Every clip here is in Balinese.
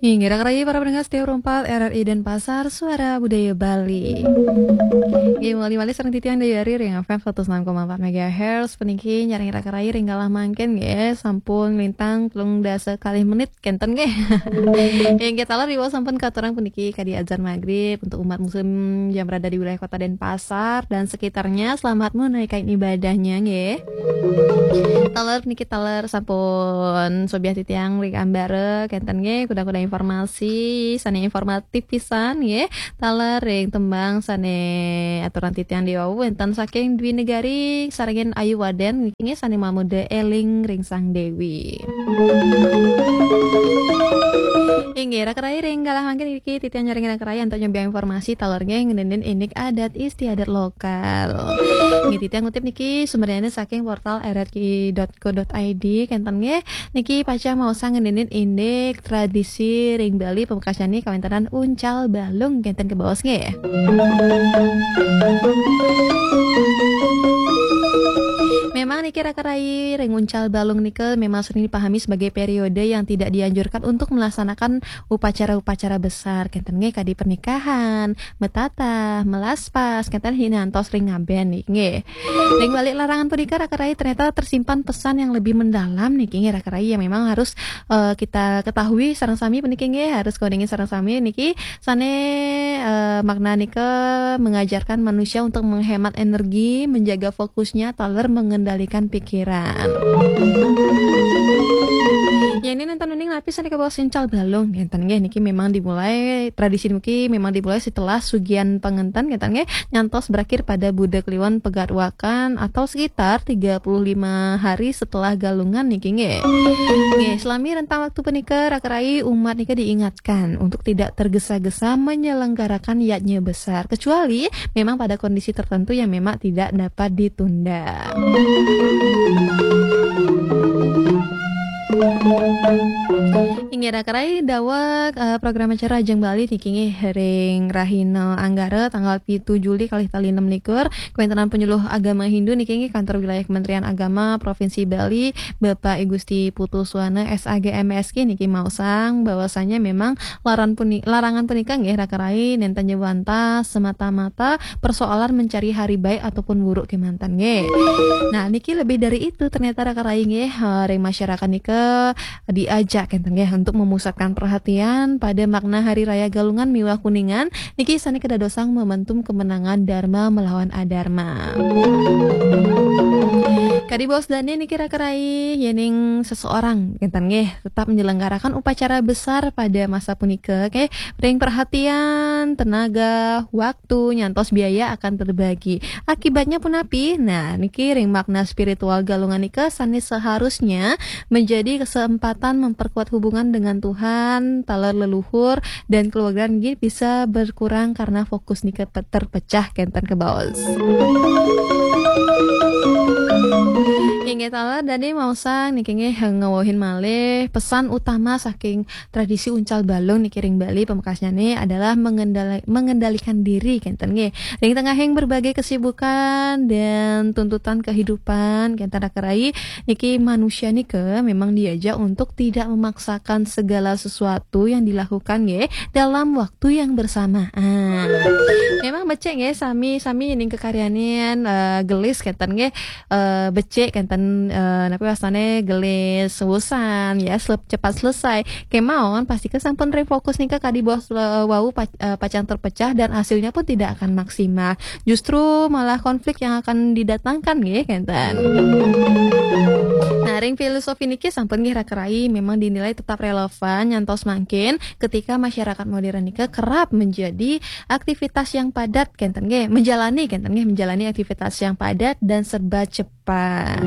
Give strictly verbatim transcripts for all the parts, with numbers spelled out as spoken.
Inggih, raka rayi para pendengar setia Rumpal R R I Denpasar, Suara Budaya Bali. Inggih, mawali malih sareng titiang Dayari ring F M seratus enam koma empat megahertz, puniki nyarengin raka rayi ring galah mangkin nggih, sampun nglintang telung dasa kalih menit kenten nggih. Inggih, taler riwau sampun katurang puniki kadi azan magrib untuk umat muslim yang berada di wilayah Kota Denpasar dan sekitarnya, selamat menunaikan ibadahnya nggih. Taler niki taler sampun sobiah titiang ring ambara kenten nggih, kuda-kuda informasi sane informatif pisan nggih. Taler ring tembang sane aturan titiang diwau wenten saking Dwi Negari sarengin Ayu Waden niki nggih, sane mamuda Eling ring Sang Dewi. Inggih, raka rayi ring galah mangkin niki titiang nyarengin raka rayi antuk nyobiah informasi taler nggih ngeninin indik adat istiadat lokal. Nggih, titiang ngutip niki sumbernya saking portal R R Q dot co dot I D kenten nggih. Niki pacang maosang ngeninin indik tradisi ring Bali pamekasnyane kawentenan uncal balung kenten kebaos nggih. Memang niki raka rayi ring uncal balung nika memang sering dipahami sebagai periode yang tidak dianjurkan untuk melaksanakan upacara-upacara besar kenten nggih kadi pernikahan, metatah, melaspas, kenten ngantos ring ngaben niki nggih. Ring balik larangan punika raka rayi ternyata tersimpan pesan yang lebih mendalam niki nggih raka rayi yang memang harus eh, kita ketahui sareng sami puniki nggih, harus kauningin sareng sami niki sane eh, makna nika mengajarkan manusia untuk menghemat energi, menjaga fokusnya, taler mengendalikan pikiran. Ya ini nenten uning lapis sane kebaos uncal balung ngenten nggih, niki memang dimulai tradisi niki memang dimulai setelah sugian pangenten ngenten nggih, nyantos berakhir pada Buda Kliwon Pegat Wakan atau sekitar tiga puluh lima hari setelah galungan niki nggih. Nggih, selami rentang waktu punika raka rayi umat nika diingatkan untuk tidak tergesa-gesa menyelenggarakan yadnya besar kecuali memang pada kondisi tertentu yang memang tidak dapat ditunda. Inggih raka rayi daweg eh, program acara Ajeng Bali niki nggih ring rahina Anggara tanggal pitu Juli kalih tali enam likur, kawentenan penyuluh agama Hindu niki nggih kantor wilayah Kementerian Agama Provinsi Bali, Bapak I Gusti Putu Suwana S A G M S K niki maosang bahwasanya memang laran puni, larangan punika nggih raka rayi nenten nyebantah semata-mata persoalan mencari hari baik ataupun buruk kemanten nggih. Nah, niki lebih dari itu ternyata raka rayi nggih eh, ring masyarakat nika diajak kenten nggih untuk memusatkan perhatian pada makna Hari Raya Galungan miwah Kuningan niki sane kedadosang momentum kemenangan Dharma melawan Adharma. Kadi baos dane niki raka rayi yening seseorang kenten nggih tetap menyelenggarakan upacara besar pada masa punika nggih, ring perhatian, tenaga, waktu nyantos biaya akan terbagi. Akibatnya punapi? Nah, niki ring makna spiritual galungan nika sane seharusnya menjadi kesempatan memperkuat hubungan dengan Tuhan, taler leluhur, dan keluarga nggih bisa berkurang karena fokus nika pe- terpecah kenten kebaos. Inggih taler dadi maosang niki nggih ngawuhin malih pesan utama saking tradisi uncal balung niki ring Bali pamekasnyane adalah mengendali, mengendalikan diri kenten nggih. Ring tengahing berbagai kesibukan dan tuntutan kehidupan kenten raka rayi niki manusia nika memang diajak untuk tidak memaksakan segala sesuatu yang dilakukan nggih dalam waktu yang bersamaan. Memang becik nggih sami-sami ning kekaryanin eh, gelis kenten nggih eh, becik kenten eh, napa wastane gelis urusan ya selep- cepat selesai. Kemawon pastika sampun ring fokus nika kadi baos eh, wau pac- eh, pacang terpecah dan hasilnya pun tidak akan maksimal. Justru malah konflik yang akan didatangkan nggih kenten. Nah, ring filosofi niki sampun nggih raka rayi memang dinilai tetap relevan nyantos mangkin ketika masyarakat modern nika kerap menjadi aktivitas yang padat kenten nggih, menjalani kenten nggih, menjalani aktivitas yang padat dan serba cepat.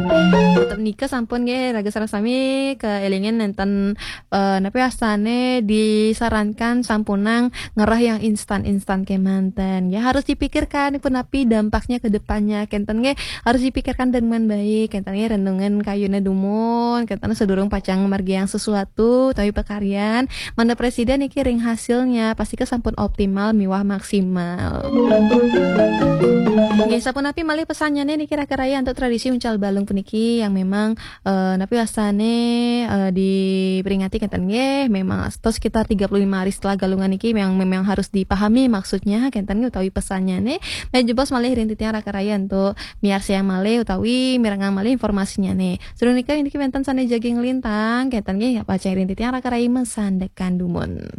Tetep nika sampun nggih raga sareng sami keelingin nenten eh, napa wastane disarankan sampunang ngerah yang instan-instan kemanten. Ya harus dipikirkan punapi dampaknya ke depannya kenten nggih, harus dipikirkan dengan baik kenten nggih, renungan kayune dumun kenten sedurung pacang margiang sesuatu tapi pekaryan mana presiden niki ring hasilnya pastika sampun optimal miwah maksimal. Nggih, sapunapi malih pesannyane niki raka rayi antuk tradisi uncal balung punika? niki yang memang, eh, napi wastane, eh, diperingati kenten nggih, memang sekitar tiga puluh lima hari setelah Galungan niki memang, memang harus dipahami maksudnya kenten nggih utawi pesannya nih. Nah, jebos malih ring titiang raka raya untuk miarsayang malih utawi mirengang malih informasinya nih. Sadurung nika niki wenten sane jagi nglintang kenten nggih, pacang ring titiang raka raya masandekan dumun.